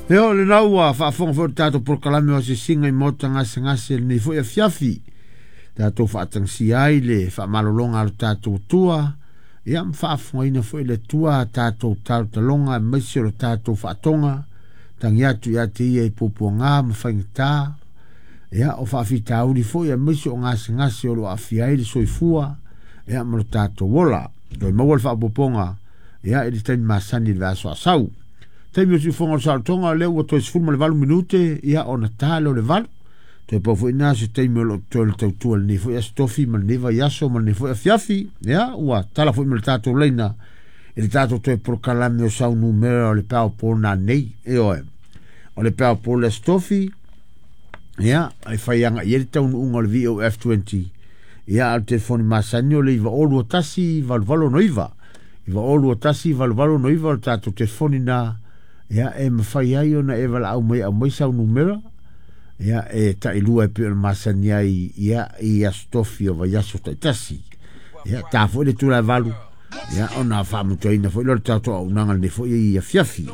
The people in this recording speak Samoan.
Ia, o lena ua faafofoga foi le tatou polokalame o asiasiga i maota gasegase lenei foi afiafi. Tatou faatagisia ai le faamalologa a lo tatou Atua, ia ma faafofogaina foi le Atua tatou talotaloga aemaise o le tatou faatoga, tagi atu ia te ia i puapuaga ma faigata, ia o faafitauli foi aemaise o gasegase o lo o aafia ai le soifua, ia ma lo tatou ola. Toe maua le faaopoopoga, ia, i le taimi masani i le vaiaso a sau. Taimi o siufoga o le saolotoga, o lea ua toe 18 minute, ia ona ta lea o le 8. Toe pau foi na se taimi o lo o totoe le tautua lenei foi aso tofi ma lenei vaiaso ma lenei foi afiafi. Ia, ua tala foi ma le tatou laina i le tatou toe polokalame o sau numera o le Powerball nanei. Ioe, o le Powerball le aso tofi, ia, e fai aga i ai le taunuuga o le VOF20. Ia, a o le telefoni masani o le 921 88 69. 921 88 69 o le tatou telefoni na, ia, e mafai ai ona e valaau mai e aumai sau numera, ia, e tailua e pei ona masani ai, ia, i aso tofi o vaiaso taitasi. Ia, ta foi le tula e 8, ia, ona faamatuaina foi lea o le tatou auaunaga lenei foi i afiafi.